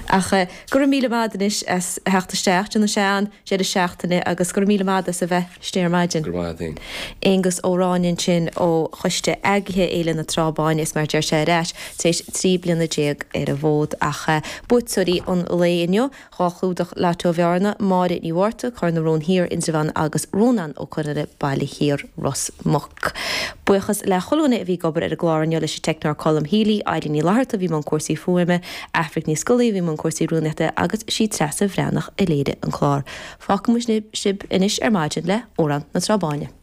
Ach go raibh míle maith agat anois as theacht isteach, déanfaidh sé an-deireadh seachtaine agus go raibh míle maith agat as a bheith istigh ar maidin. Go raibh maith agat féin. Aengus Ó Ráinne ansin ó Choiste Eagraithe Fhéile na Trá Báine is mar a deir sé ar ais tar éis 13 bliana ar an bhfód. Ach buaiteoirí an lae inniu, 2 chlúdach Lotto Bhearna, Máire Ní Mhárta, Cor na Rón Thiar, Indreabhán agus Rónán Ó Conghaile, Baile Thiar, Ros Muc. Buíochas le chuile dhuine a bhí ag obair ar an gclár inniu, leis an teicneoir Colm Healy, Eileen Ní Fhlatharta a bhí i mbun cúrsaí fuaime, Aifric Ní Scolaí a bhí i mbun cúrsaí rúnaíochta agus sí Treasa Bhreathnach a léirigh an clár. Fágfaidh muid sibh anois ar maidin le Amhrán na Trá Báine.